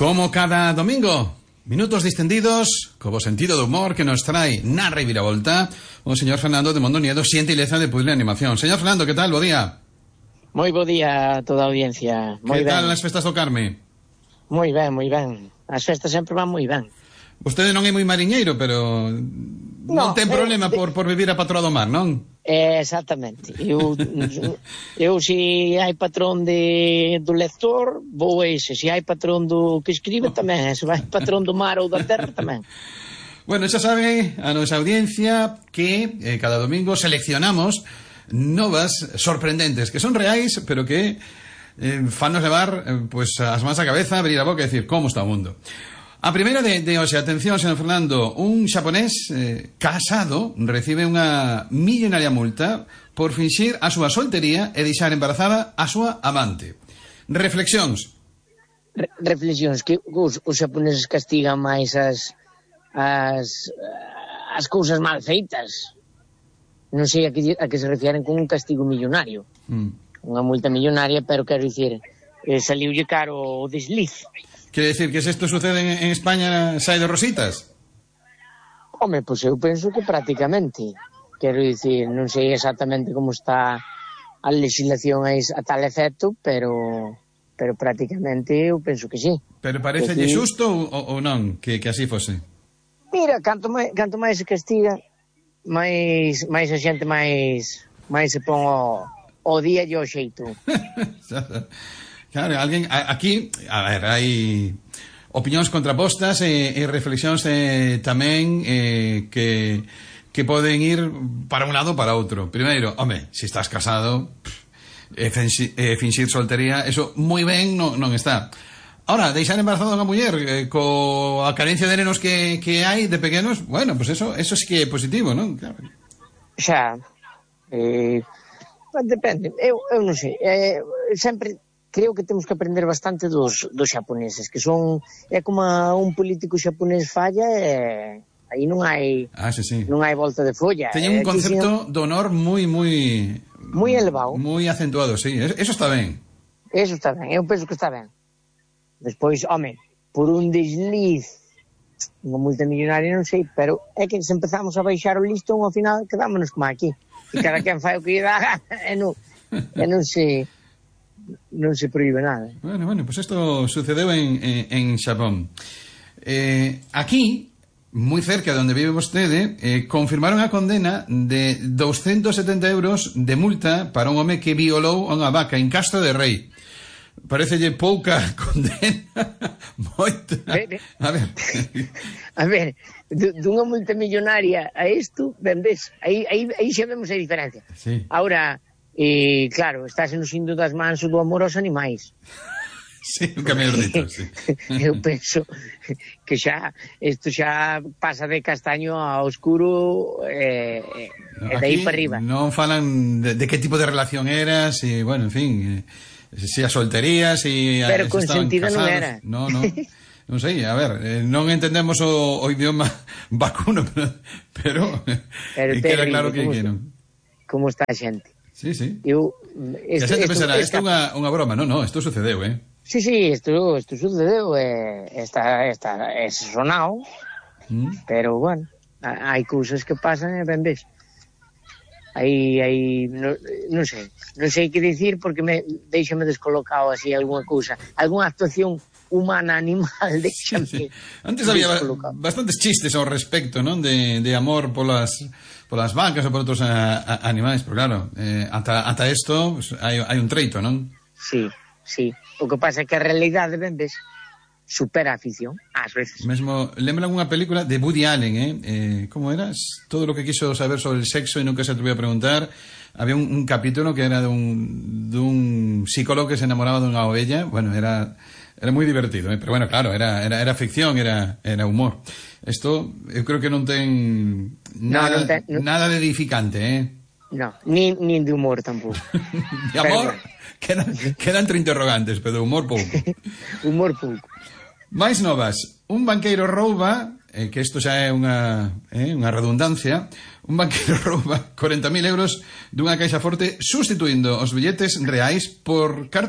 Como cada domingo, minutos distendidos, como sentido de humor que nos trae na reviravolta o señor Fernando de Mondoniedo, xentileza de Puzzle Animación. Señor Fernando, que tal? Bo día. Moi bo día a toda a audiencia. Que tal as festas do Carme? Moi ben, moi ben. As festas sempre van moi ben. Vostede non é moi mariñeiro, pero non ten problema por vivir a patroa do mar, non? Exactamente. Eu se hai patrón do lector, vou ese. Se hai patrón do que escribe, tamén. Se hai patrón do mar ou da terra, tamén. Bueno, xa sabe a nosa audiencia que cada domingo seleccionamos novas sorprendentes, que son reais, pero que fanos levar pues as mans a cabeza, abrir a boca e decir, como está o mundo? A primeira de hoxe, atención, señor Fernando, un xaponés casado recibe unha millonaria multa por finxir a súa soltería e deixar embarazada a súa amante. Reflexións. Reflexións, que os xaponeses castigan máis as cousas mal feitas. Non sei a que se refieren con un castigo millonario. Unha multa millonaria, pero quero dicir, saliulle caro o desliz. Quere dicir que se isto sucede en España sai de rositas? Home, pois eu penso que prácticamente. Quero dicir, non sei exactamente como está a legislación a tal efecto, pero prácticamente eu penso que sí. Pero parecelle xusto ou non que así fose? Mira, canto máis se castiga, máis a xente máis se pon o día e o xeito. Claro, alguén aquí, a ver, hai opinións contrapostas e reflexións tamén que poden ir para un lado ou para outro. Primeiro, home, se estás casado, finxir soltería, eso moi ben non está. Ahora, deixar embarazada unha muller coa carencia de nenos que hai de pequenos, bueno, pues eso sí que é positivo, non? Claro. Xa, depende, eu non sei, sempre creo que temos que aprender bastante dos xaponeses, que son, é como un político xaponés falla e aí non hai non hai volta de folla. Teñen un concepto de honor moi elevado, moi acentuado, sí, eso está ben. Eso está ben, eu penso que está ben. Despois, home, por un desliz unha multa millonaria non sei, pero é que se empezamos a baixar o listón ao final quedámonos como aquí, e cada quen fai o que lle dá e non se proíbe nada. Bueno, pues esto sucedeu en Xapón. Aquí, moi cerca de onde vive vostede, confirmaron a condena de 270 euros de multa para un home que violou unha vaca en Castro de Rei. Parecelle pouca condena, moita. A ver, dunha multa millonaria a isto, ben ves, aí xa vemos a diferencia. Sí. Ahora, claro, estás nos indo das mans do amor aos animais. Sí, un camiño dito, sí. Eu penso que isto xa pasa de castaño a oscuro e de aí para arriba. Non falan de que tipo de relación era, si, bueno, en fin, si a soltería, si pero estaban consentida casados. Non era. Non sei, a ver, non entendemos o idioma vacuno, pero queda claro que non. Como está a xente. Sí. Que a xente pensará, isto é unha broma. Non, isto sucedeu, Sí, isto sucedeu, é sonado, pero, bueno, hai cousas que pasan e ben ves. Aí, non sei que dicir porque deixame descolocado así algunha cousa, algunha actuación humana, animal, deixame. Antes había bastantes chistes ao respecto, non? De amor polas vacas ou por outros animais, pero claro, ata isto pues, hai un treito, non? Sí. O que pasa é que a realidade, ben ves, supera a ficción, ás veces. Mesmo, lembra unha película de Woody Allen, como era? Todo lo que quiso saber sobre el sexo e nunca se atrevió a preguntar. Había un capítulo que era dun psicólogo que se enamoraba dunha ovella. Bueno, era moi divertido, pero bueno, claro, era ficción, era humor. Isto, eu creo que non ten nada de edificante, No, nin de humor tampouco. De amor, quedan 30 interrogantes, pero de humor pouco. Humor pouco. Mais novas, un banqueiro rouba, que isto xa é unha redundancia, un banqueiro rouba 40.000 euros dunha caixa forte sustituindo os billetes reais por cartas